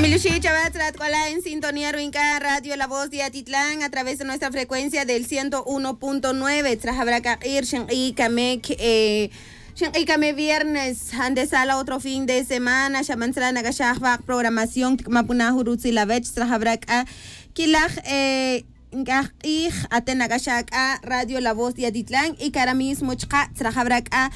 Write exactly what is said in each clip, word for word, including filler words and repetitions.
Miluxi' chawatz rat k'ola' en sintonía ru'in k'a radio La Voz de Atitlán a través de nuestra frecuencia del ciento uno punto nueve. Tzra jawra' k'a q'ir xink'i' kamik, eh, xink'i' kamik viernes, antesala otro fin de semana. Xa man tzra nak'axaj wa' qprogramación, tik'ama puna jun rutzil awech. Tzra jawra' k'a kilaj, eh, nk'aj q'ij ate' nak'axaj k'a radio La Voz de Atitlán y kara' mismo chaqa' tzra jawra' k'a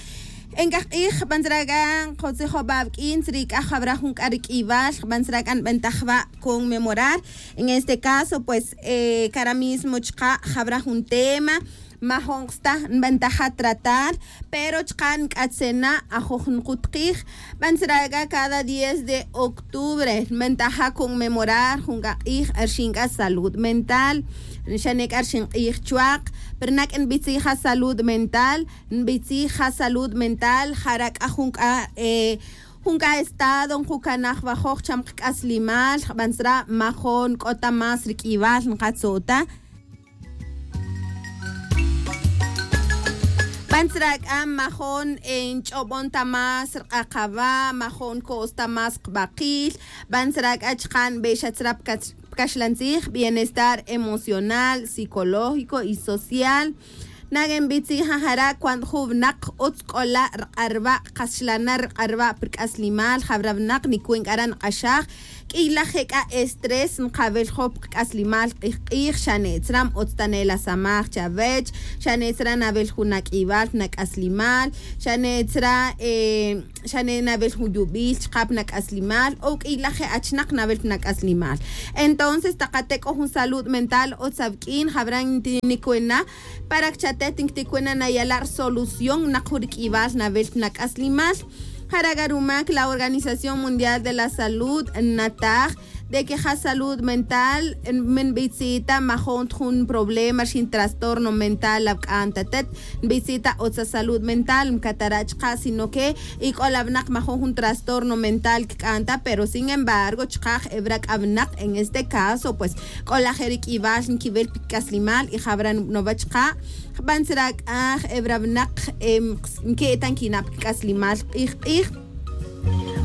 nk'aj q'ij jban tzra k'a nqotzijob'a' awik'in tzri k'a jawra' jun k'a rik'ib'al jban tzra k'a nb'antaj wa' conmemorar. En este caso pues, eh, kara' mismo chaqa' jawra' jun tema majo'n qas ta nb'antaja tratar, pero chaqa' nk'atzena ajoj nqutqij. Jban tzra k'a cada diez de octubre nb'antaja conmemorar jun k'a q'ij rxin k'a salud mental, xane' k'a rxin q'ij chwaq. Pero nak'a nb'itzija salud mental, nb'itzija salud mental jara' k'a jun k'a, eh, jun k'a estado nqukanaj wajoj cham qk'aslimal. Jban tzra majo'n k'o ta más rik'ib'al nqatzo' ta. Jban tzra k'a majo'n, eh, nch'ob'on ta más rq'aq awa', majo'n ko's ta más qb'aqil. Jban tzra k'a chaqa' nb'exa tzra pkax-, pkaxlan tzij, bienestar emocional, psicológico y social. Nak'a nb'itzija jara' cuando jun winaq utz k'ola' rq'arwa', qas xlana' rq'arwa' pi rk'aslimal, jawra' winaq nik'u' k'ara' nq'axaj. K'iylaj je' k'a estrés nqawil joj pi qk'aslimal q'ij q'ij, xane' tzra utz ta ne la samaj chawech, xane' tzra nawil jun ak'ib'al, nak'aslimal, xane' tzra, eh, xane' nawil jun yub'il chaqa' pi nak'aslimal o k'iylaj je' achnaq nawil pi nak'aslimal. Entonces taq ate' k'o jun salud mental utz awik'in, jawra' nti-, nik'u' na para que chatet nktik'u' na nayala' rsolución naq jun rik'ib'al nawil pi nak'aslimal. Jara' k'a rumak la Organización Mundial de la Salud nataj de que ja salud mental, eh, man nb'itzi' ta majo'n ta jun problema rxin trastorno mental awik'an ta atet, nb'itzi' ta utz asalud mental, nkatara' chaqa' sino que y k'ola' winaq majo'n jun trastorno mental kik'an ta, pero sin embargo chaqa' ewra' k'a winaq, en este caso pues k'ola' je' rik'ib'al nkiwil pi kik'aslimal y jawra' nub'nowa chaqa' jban tzra k'a ewra' winaq, em, nki' ta nkina' pi kik'aslimal q'ij q'ij.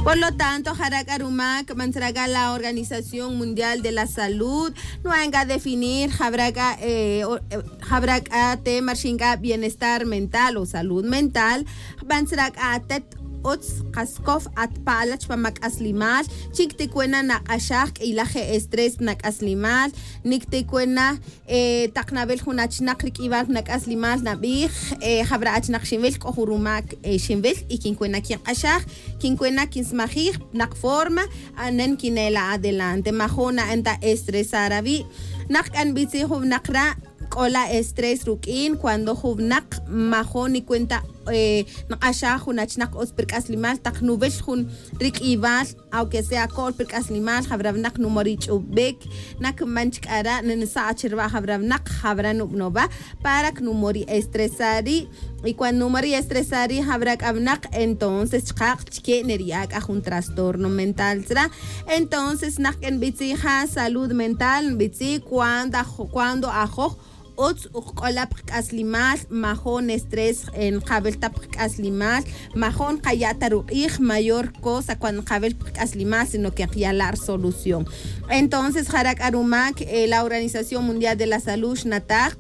Por lo tanto jara' k'a rumak jban tzra k'a la Organización Mundial de la Salud nu'an k'a definir jawra' k'a, eh, o, eh, jawra' k'a tema rxin k'a bienestar mental o salud mental. Jban tzra k'a atet utz qas kow atpala' chpam ak'aslimal, chi nktik'u' na naq'axaj k'iylaj je' estrés pi nak'aslimal, niktik'u' na, eh, taq nawil jun achnaq rik'ib'al pi nak'aslimal nab'ij, eh, jawra' achnaq xinwil, k'o jun rumak, eh, xinwil y kink'u' na kinq'axaj, kink'u' na kinsmajij naq forma, anen kinela' adelante, majo'n na'an ta estresar awi'. Naq k'a nb'itzi' jun winaq ra' k'ola' estrés ruk'in cuando jun winaq majo'n nik'u' ta, eh, nq'axaj jun achnaq utz pi rk'aslimal taq nuwil jun rik'ib'al, aunque sea ko'l pi rk'aslimal, jawra' winaq numori' ch'ub'ik, nak man chik k'ara' nsa' chirwa' jawra' winaq, jawra' nub'nowa para que numori' estresar ri'. Y cuando numori' estresar ri' jawra' k'a winaq, entonces chaqa' chike' neriya' k'a jun trastorno mental tzra. Entonces naq k'a nb'itzi' ja salud mental, nb'itzi' cuando aj-, cuando ajoj utz uj k'ola' pi qk'aslimal, majo'n estrés, eh, nqawil ta pi qk'aslimal, majo'n nqaya' ta ruq'ij mayor cosa cuando nqawil pi qk'aslimal, sino que nqaya' la rsolución. Entonces jara' k'a rumak, eh, la Organización Mundial de la Salud xnataj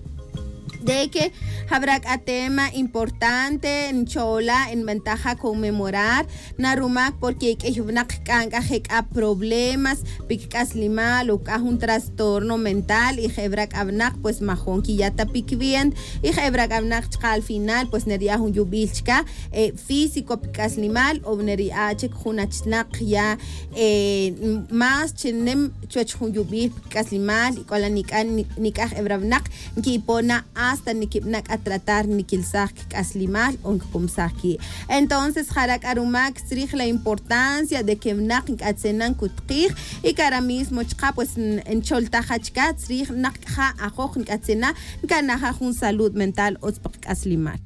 de que jawra' k'a tema importante nchola' nb'antaja conmemorar na rumak, porque k'ey winaq k'an k'a je' k'a problemas pi kik'aslimal o k'a jun trastorno mental, y je' wra' k'a winaq pues majo'n kiya' ta pi kiwenta, y je' wra' k'a winaq chaqa' al final pues neriya' jun yub'il chika, eh, físico pi kik'aslimal o neriya' chik jun achnaq ya, eh, más chi nim chuwech jun yub'il pi kik'aslimal, y k'ola' nik'an, nik'aj e wra' winaq nkipon na hasta nikib'ana' k'a tratar nikilsaj kik'aslimal o nkik'umsaj ki'. Entonces jara' k'a rumak tzrij la importancia de que winaq nk'atzena nkutqij, y kara' mismo chaqa' pues n-, ncholtaja chika tzrij naq k'a ja ajoj nk'atzena nkanaja jun salud mental utz pi qk'aslimal.